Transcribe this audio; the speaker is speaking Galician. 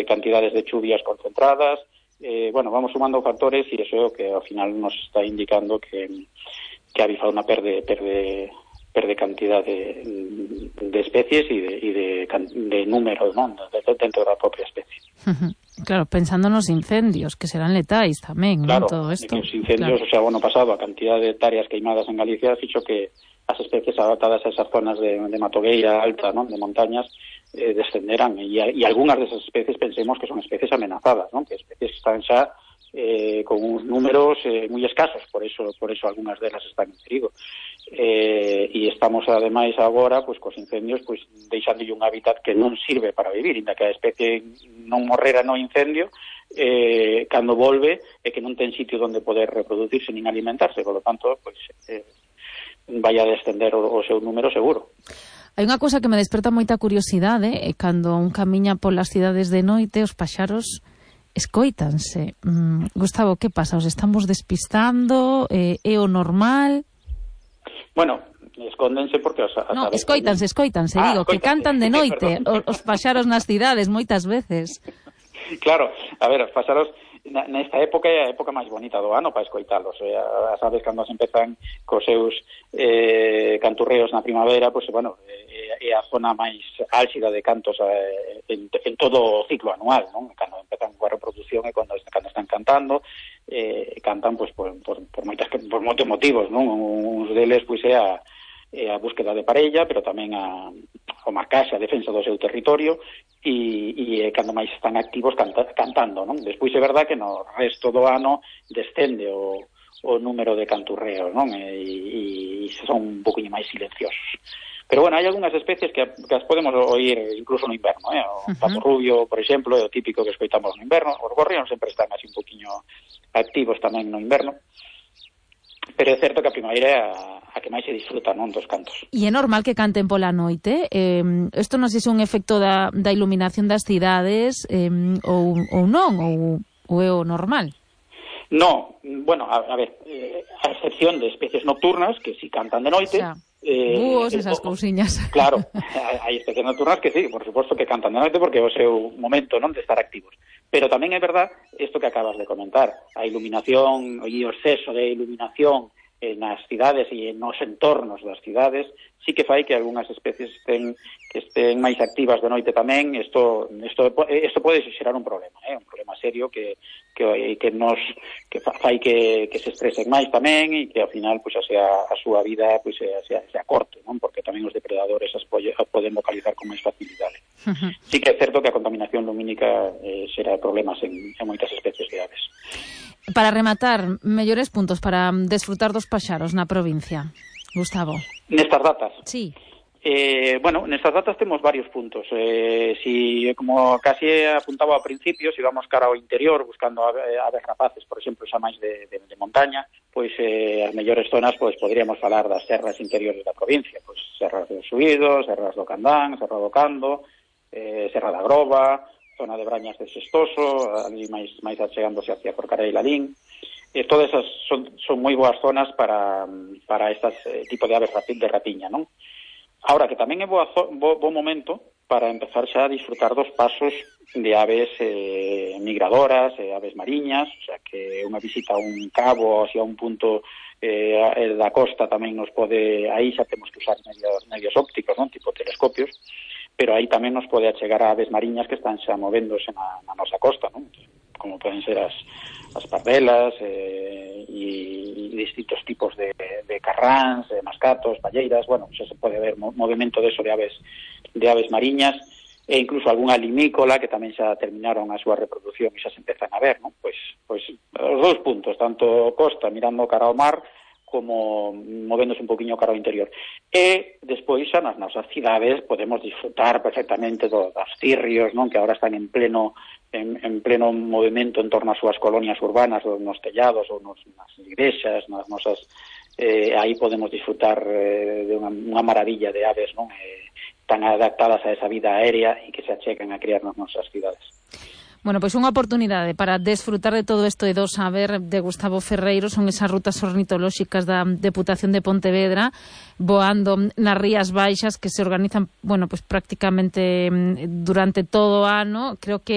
cantidades de chuvias concentradas. Bueno, vamos sumando factores e iso é o que ao final nos está indicando que a avifauna perde cantidad de especies e de números, non, dentro da propia especie. Claro, pensando nos incendios, que serán letais tamén, claro, non, todo isto. Os incendios, claro. O sea, o ano pasado, a cantidad de hectáreas queimadas en Galicia fixo que as especies adaptadas a esas zonas de matogueira alta, non, de montañas, descenderán, e algunhas desas especies pensemos que son especies amenazadas, non, que especies están xa con uns números moi escasos, por eso algunhas delas están en perigo. E estamos ademais agora pois cos incendios pois deixándolle un hábitat que non sirve para vivir, inda que a especie non morrera no incendio, cando volve é que non ten sitio onde poder reproducirse nin alimentarse, por lo tanto pois vai a descender o seu número seguro. Hai unha cousa que me desperta moita curiosidade, cando un camiña polas cidades de noite, os paxaros escoítanse. Gustavo, que pasa? Os estamos despistando? É o normal? Bueno, escóndense porque no, escoítanse, digo, que cantan de noite os paxaros nas cidades moitas veces. Claro, a ver, os paxaros nesta época é a época máis bonita do ano para escoitalos. As aves cando se empezan cos seus canturreos na primavera, pois bueno, é a zona máis álxida de cantos en todo o ciclo anual, non? Cando empezan coa reproducción e cando están cantando, cantan pois por moitos motivos, non? Uns deles pois é a búsqueda de parella, pero tamén o marcaxe, a defensa do seu territorio e cando máis están activos cantando, non? Despois é verdad que no resto do ano descende o número de canturreos, non? E son un poquinho máis silenciosos. Pero bueno, hai algunhas especies que as podemos oír incluso no inverno, O papo rubio, por exemplo, é o típico que escoitamos no inverno. Os gorrións sempre están así un poquinho activos tamén no inverno. Pero é certo que a primavera é a que máis se disfruta, non, dos cantos. E é normal que canten pola noite? Isto non sei se é un efecto da iluminación das cidades ou non, ou é o normal? No, bueno, a ver, a excepción de especies nocturnas que si cantan de noite... Búhos, esas cousiñas. Claro, hai especies nocturnas que sí, por suposto que cantan de noite porque é o seu momento, non, de estar activos. Pero tamén é verdad isto que acabas de comentar, a iluminación e o exceso de iluminación nas cidades e nos entornos das cidades sí que fai que algunhas especies estén máis activas de noite tamén. Isto pode xerar un problema, un problema serio que fai que se estresen máis tamén e que ao final pois a súa vida pois se acorte, non? Porque tamén os depredadores as poden localizar con máis facilidade. Sí que é certo que a contaminación lumínica xera problemas en moitas especies de aves. Para rematar, mellores puntos para desfrutar dos paxaros na provincia, Gustavo. Nestas datas? Sí. Bueno, nestas datas temos varios puntos. Si, como casi apuntaba ao principio, si vamos cara ao interior buscando aves rapaces, por exemplo, xa máis de montaña, pois as mellores zonas pois podríamos falar das serras interiores da provincia, pois Serras do Suído, Serras do Candán, Serra do Cando, Serra da Groba, zona de Brañas de Sestoso, ali máis achegándose hacia Forcarei e Lalín. Todas esas son moi boas zonas para estas tipo de aves de rapiña, non? Ahora, que tamén é bo momento para empezar xa a disfrutar dos pasos de aves migradoras, aves mariñas, o sea, que unha visita a un cabo, a un punto da costa tamén nos pode, aí xa temos que usar medios ópticos, non? Tipo telescopios, pero aí tamén nos pode achegar a aves mariñas que están xa movéndose na nosa costa, non? Como poden ser as pardelas e distintos tipos de carráns, mascatos, palleiras. Bueno, xa se pode ver movimento de aves mariñas e incluso algunha limícola que tamén xa terminaron a súa reproducción e xa se empezan a ver, non? Pois os dous puntos, tanto costa mirando cara ao mar como movéndose un poquinho cara ao interior. E despois xa nas nosas cidades podemos disfrutar perfectamente dos cirrios, non? Que agora están en pleno movimento en torno ás súas colonias urbanas, ou nos tellados, ou nas igrexas, nas nosas... aí podemos disfrutar de unha maravilla de aves, non? Tan adaptadas a esa vida aérea e que se achegan a criar nas nosas cidades. Bueno, pois unha oportunidade para desfrutar de todo isto e do saber de Gustavo Ferreiro son esas rutas ornitolóxicas da Deputación de Pontevedra, voando nas Rías Baixas, que se organizan, bueno, pois prácticamente durante todo o ano. Creo que